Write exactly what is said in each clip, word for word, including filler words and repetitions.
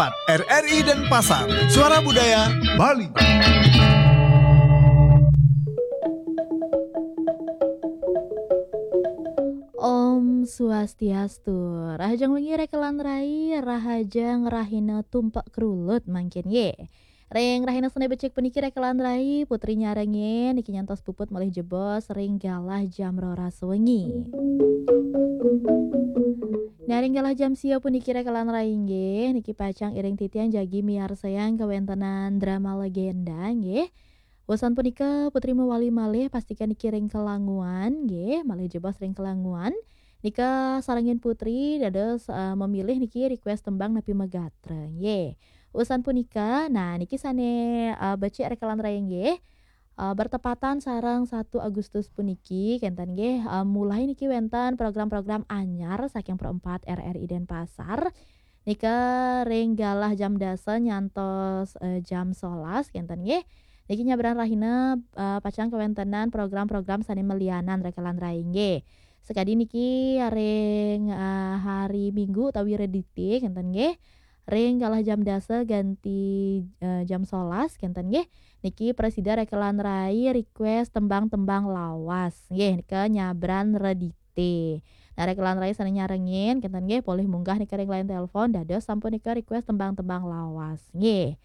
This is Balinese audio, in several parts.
empat R R I Denpasar, Suara Budaya Bali. Om Swastiastu. Rahajeng wengi rekelan rai, rahajeng rahina tumpek kerulut mangkin ye. Ring rahina Senin becik puniki rekelan rai, Putri nyarengin niki nyantos puput malih jebos ring galah jam roras wengi. Nah, ring galah jam sia puniki rekelan rai inggih niki pacang iring titiang jagi miarsayang kawentenan drama legenda nggih. Wusan punika Putri mawali malih pastika niki ring kelanguan nggih, malih jebos ring kelanguan. Nika sarengin Putri dados, eh, memilih niki request tembang napi magatra nggih. Wusan punika, nah niki sane, eh, becik rekelan rai nggih. Eh, bertepatan sareng satu Agustus puniki kenten nggih, eh, mulai niki wenten program-program anyar saking Pro empat R R I Denpasar. Nika ring galah jam dasa nyantos, eh, jam solas kenten nggih. Niki nyabran rahina, eh, pacang kawentenan program-program sane malianan rekelan rai nggih. Sekadi niki ring, eh, hari Minggu utawi Redite kenten nggih. Ring galah jam dasa ganti, eh, jam solas kenten nggih. Niki prasida rekelan rai request tembang-tembang lawas nggih, nika nyabran Redite. Nah, rekelan rai sane nyarengin kenten nggih, polih munggah nika ring line telepon dados sampun nika request tembang-tembang lawas nggih.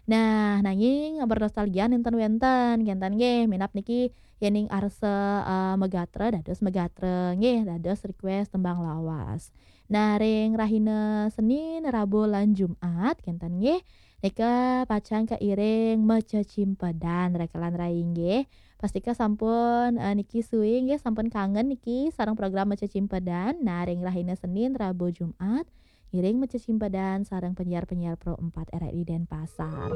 Nah, nanging bernostalgia nenten wenten kenten nggih, minab niki yening arsa, eh, megatra dados megatra nggih, dados request tembang lawas. Nah, ring rahina Senin, Rabu lan Jumat kenten nggih, nika pacang kairing macecimpedan rekelan rai nggih. Pastika sampun, eh, niki suwi nggih, sampun kangen niki sareng program macecimpedan. Nah, ring rahina Senin, Rabu, Jumat, iring macecimpedan sareng penyiar-penyiar Pro empat R R I Denpasar.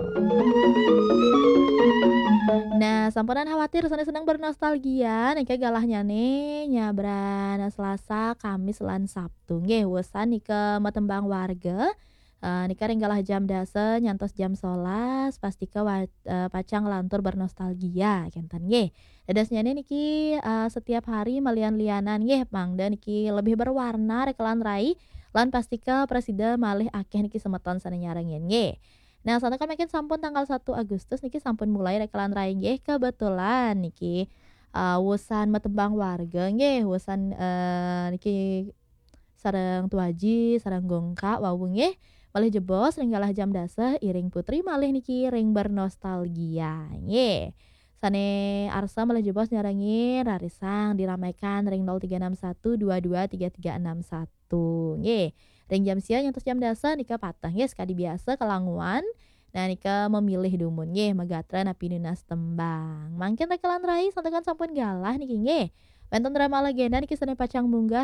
Nah, sampunan khawatir sane seneng bernostalgia, nika galahnyane nyabran Selasa, Kamis, lan Sabtu. Nggih, wusan nika matembang warga. Eh, nika ring galah jam dasa nyantos jam solas, pastika wa-, eh, pacang lantur bernostalgia kenten nggih. Dadosnyane niki, eh, setiap hari malian-lianan nggih, mangda niki lebih berwarna rekelan rai, lan pastika prasida malih akeh niki semeton sane nyarengin nggih. Nah, santukan mangkin sampun tanggal satu Agustus niki sampun mulai rekelan rai nggih. Kebetulan niki, eh, wusan matembang warga nggih, wusan, eh, niki sareng Tuaji, sareng Gongka wau nggih. Malih jebos ring galah jam dasa iring Putri malih niki ring bernostalgia nggih. Sane arsa malih jebos nyarengin rarisang diramaikan ring nol tiga enam satu dua dua tiga tiga enam satu nggih. Ring jam sia nyantos jam dasa nika pateh nggih, sekadi biasa kelanguan. Nah, nika memilih dumun nggih, megatra napi nunas tembang. Mangkin rekelan rai santukan sampun galah niki nggih. Wenten drama legenda niki sane pacang munggah